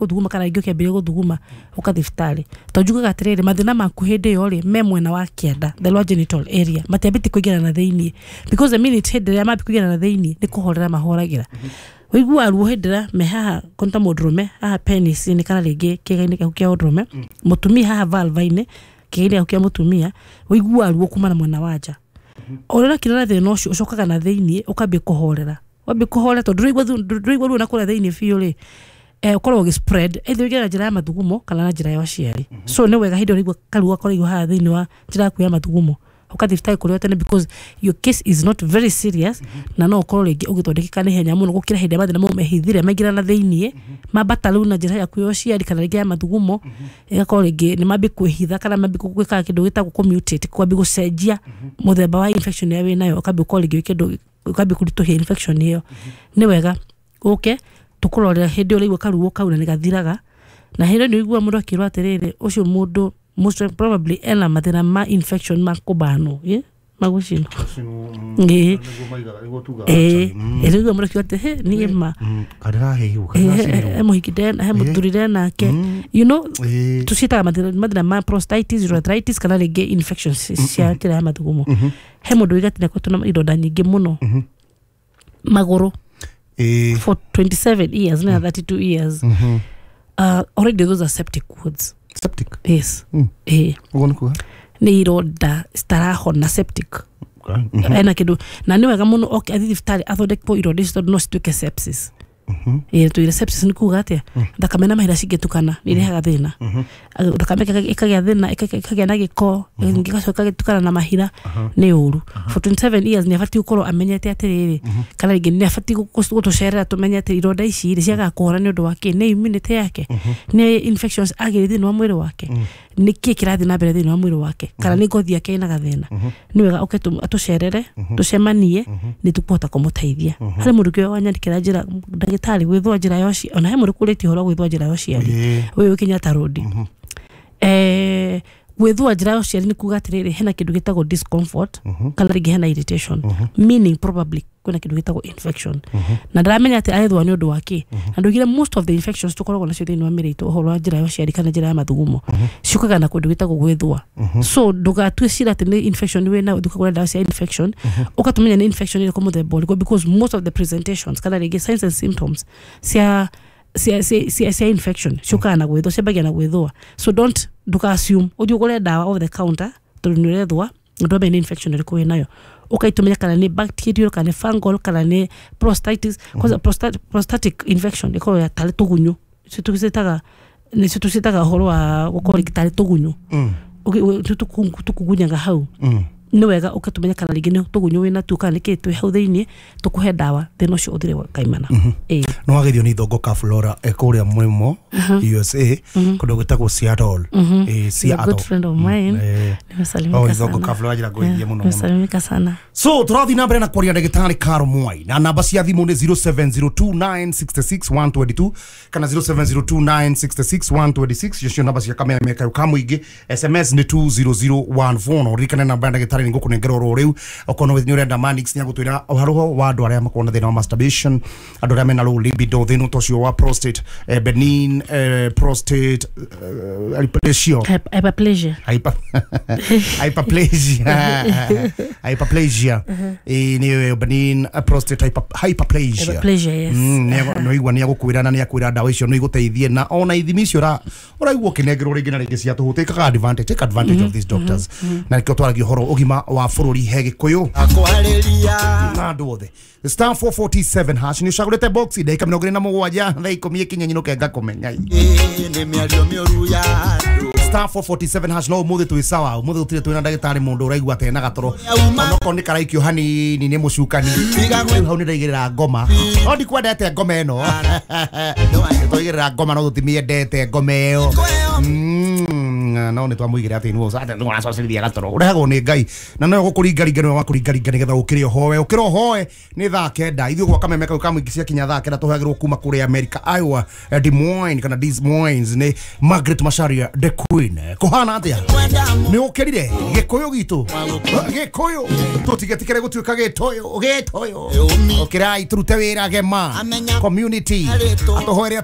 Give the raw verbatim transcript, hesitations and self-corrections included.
Gũthuguma kana rĩngĩ ũkĩambĩrĩria gũthuguma, ũka thibitarĩ, tondũ njugaga atĩrĩrĩ, mathĩna maku hĩndĩ ĩyo rĩ me mwena wa kĩanda, the lower genital area, matiambĩtie kũingĩra na thĩiniĩ, because the minute hĩndĩ ĩrĩa mambia kũingĩra na thĩiniĩ nĩ kũhorera mahoragĩra. Ũiguaga ruo hĩndĩ ĩrĩa me haha konta mũndũrũme haha penis-inĩ kana rĩngĩ kĩĩga-inĩ gĩaku kĩa ũndũrũme, mũtumia haha vulva-inĩ, kĩĩga-inĩ gĩaku kĩa mũtumia, ũiguaga ruo kuma na mwena wa nja. O ũrĩa ũrakira na thĩna ũcio ũcokaga na thĩiniĩ ũkambia kũhorera. Wambia kũhorera, tondũ ndũraigua ndũraigua ruo na kũrĩa thĩiniĩ biũ rĩ, eh, ũkoragwo ũgĩ spread either ũingĩre na njĩra ya mathugumo kana na njĩra ya ũciari. So nĩ wega hĩndĩ ĩrĩa ũraigua karuo gakoragwo haha thĩiniĩ wa njĩra yaku ya mathugumo, ũgathiĩ thibitarĩ kũrĩ o tene, because your case is not very serious, na no ũkorwo rĩngĩ ũgĩthondekeka na ihenya mũno gũkĩra hĩndĩ ĩrĩa mathĩna mau mehithire maingĩra na thĩiniĩ, mambata rĩu na njĩra yaku ya ũciari kana rĩngĩ ya mathugumo, ĩgakorwo rĩngĩ nĩ mambie kwĩhitha kana mambie gwĩka kĩndũ gĩtagwo kũmutate, kwambia gũcenjia mũthemba wa infection ĩrĩa wĩnayo, ũkambia gũkorwo rĩngĩ wĩ kĩndũ ũkambia kũritũhia infection ĩyo. Nĩ wega ũke tũkũrorera hĩndĩ ĩyo ũraigua karuo kau, na nĩ gathiraga. Na hĩndĩ ĩyo nĩ ũiguaga mũndũ akĩrwo atĩrĩrĩ, ũcio mũndũ most probably ena mathĩna ma infection ma kũbanwo, ĩ magũcinwo. Ĩĩ, ĩĩ, ĩrĩigua mũndũ akiuga atĩ he niĩ ma Karĩrahĩhwo. he mũhiki ndena, he mũthuri ndenake, you know tũciĩtaga mathĩna mathĩna ma prostatitis, urethritis, kana rĩngĩ infections cia njĩra ya mathugumo. He mũndũ wĩga atĩ nĩakoretwo na ironda nyingĩ mũno magũrũ for twenty-seven years na thirty-two years. uh, already those are septic wounds. Septic? Yes. Mm. Eh. Ũguo nĩ kuga? Nĩ ironda citarahona, septic. Ena kĩndũ, na nĩ wega mũno oke athiĩ thibitarĩ athondekwo ironda icio, tondũ no cituĩke sepsis. Ĩĩ, tuire sepsis nĩ kuga atĩa? Thakame na mahira cingĩtukana nĩ irehaga thĩna. Thakame ĩkaga- ĩkagĩa thĩna, ĩka- ĩkagĩa na gĩko, ĩgacoka ĩgatukana na mahira, nĩ ũru. For twenty-seven years nĩ abatiĩ gũkorwo amenyete atĩrĩrĩ, kana rĩngĩ nĩ abatiĩ gũ- gũtũcerera tũmenye atĩ ironda ici rĩ ciagaga kũhona nĩ ũndũ wa kĩ? Nĩ immunity yake, nĩ infections agĩrĩ thĩinĩ wa mwĩrĩ wake, nĩ kĩ kĩrathiĩ na mbere thĩinĩ wa mwĩrĩ wake, kana nĩ ngothi yake ĩna gathĩna? Nĩ wega ũke tũ- atũcerere, tũcemanie, nĩ tũkũhota kũmũteithia. Harĩ mũndũ ũngĩ wanyandĩkĩra njĩra, ndagĩtarĩ, gwĩthũa njĩra ya ũciari. Ona he mũndũ kũrĩtie ũhoro wa gwĩthũa njĩra ya ũciari. Ĩĩ. Ũyũ wĩ Kenyatta Road. eh gwĩthũa njĩra ya ũciari nĩ kuga atĩrĩrĩ, hena kĩndũ gĩtagwo discomfort kana rĩngĩ hena irritation, meaning probably kwĩna kĩndũ gĩtagwo infection, na ndaramenya atĩ arethũa nĩ ũndũ wa kĩ. Na ndugire most of the infections tũkoragwo nacio thĩinĩ wa mĩrĩ itũ, ũhoro wa njĩra ya ũciari kana njĩra ya mathugumo, ciũkaga na kũndũ gĩtagwo gwĩthũa. So ndũgatue cira atĩ nĩ infection wĩnayo ũthiĩ ũkagũra ndawa cia infection. Ũgatũmenya nĩ infection ĩrĩkũ, mũthemba ũrĩkũ, because most of the presentations kana rĩngĩ signs and symptoms cia cia cia cia, cia infection ciũkaga na gwĩthũa, ciambagia na gwĩthũa. So don't, ndũka assume ũthiĩ ũgũre ndawa over the counter tondũ nĩ ũrethũa. Ndwamenya nĩ infection ĩrĩkũ wĩnayo, ũkaitumenya kana nĩ bacterial kana nĩ fungal kana nĩ prostatitis. Kwanza prostat, prostatic infection ĩkoragwo ya tarĩ tũgunyũ, icio tũcitaga nĩcio tũcitaga ũhoro wa gũkorwo rĩngĩ tarĩ tũgunyũ. Ũgĩ- ũ- tũ- tũkugunyaga hau. Nĩ wega ũkĩtũmenya kana rĩngĩ nĩ tũgunyũ wĩna tuo kana nĩkĩ twĩ hau thĩiniĩ, tũkũhe ndawa, thĩna ũcio ũthire kaimana. Ĩĩ. Nĩ wageithio nĩ Ithongo ka Flora e kũrĩa mũrĩmo U S A, kũndũ gwĩtagwo Seattle. Ĩ, He's a Seattle. good friend of mine. Eh. Nimesalimika Oh, Ithongo sana. ka Flora njĩra ngũgeithie mũno mũno. Nimesalimika sana. So tũrathiĩ na mbere na kwaria ndagĩtarĩ Caro Mwai, na namba cia thimũ nĩ zero seven zero two nine six six one two two kana zero seven zero two nine six six one two six. Icio namba cia kameme kayo ka mũingĩ. S M S nĩ two zero zero one four. Na ũririkane namba ya ndagĩtarĩ nĩ ngũkũnengera oro rĩu okorwo nĩ ũrenda. Manix nĩ agũtwĩra ũhoro wa andũ arĩa makoragwo na thĩna wa masturbation, andũ arĩa mena low libido, thĩna ta ũcio wa prostate, eh, benign eh, prostate eh, hyperplasia. Hyper- hyperplasia. Hyper, hyperplasia hyperplasia Ĩ, nĩ benign prostate hyper, hyperplasia. Hyperplasia, yes. Mm, nĩ igua nĩ agũkwĩra na nĩ akwĩra ndawa icio no igũteithie, na ona ithimi icio ũra- ũraigua ũkĩnengerwo rĩngĩ na rĩngĩ cia tũhũ. Take advantage, take advantage of these doctors. Na nĩkĩo twaragia ũhoro ũgima wa bũrũri he Gĩkũyũ Akwarĩria. Na andũ othe. Star four four seven hash, nĩ ũcagũrĩte box, ndagĩka mĩrongo ĩrĩ na mũgwanja thaa ikũmi ĩkinye nyinũke ngakũmenya. Nĩ mĩario mĩũru ya andũ. Star four four seven hash. No ũmũthĩ twĩ sawa, ũmũthĩ gũtirĩ twĩna ndagĩtarĩ mũndũ ũraigua atĩ ena gatoro, onokorwo nĩ karaikio hanini nĩ mũcukani. Rĩu hau nĩ ndaigĩrĩra ngoma, no ndikwendete ngoma ĩno. Twaigĩrĩra ngoma, no tũtimĩendete ngoma ĩyo. Mm, no nĩ twamũigĩra atĩ nĩwe ũracocerithia gatoro ũrehagwo nĩ Ngai, na no gũkũringaringa, nĩwe wakũringaringa nĩgetha ũkĩre ũhoe, ũkĩre ũhoe. Nĩ thaa kenda ithuĩ gwa kameme kau ka mũingĩ, ciakinya thaa kenda tũheagĩrwo kuma kũrĩa America, Iowa, eh, Des Moines kana Des Moines, nĩ Margaret Macharia the Queen. Kũhana atĩa? Nĩ ũkĩrire Gĩkũyũ gitũ? Gĩkũyũ tũtigetikĩre gũtuĩka gĩtũyũ gĩtũyũ. Ũkĩrai tũrute wĩra gema community atũhoere.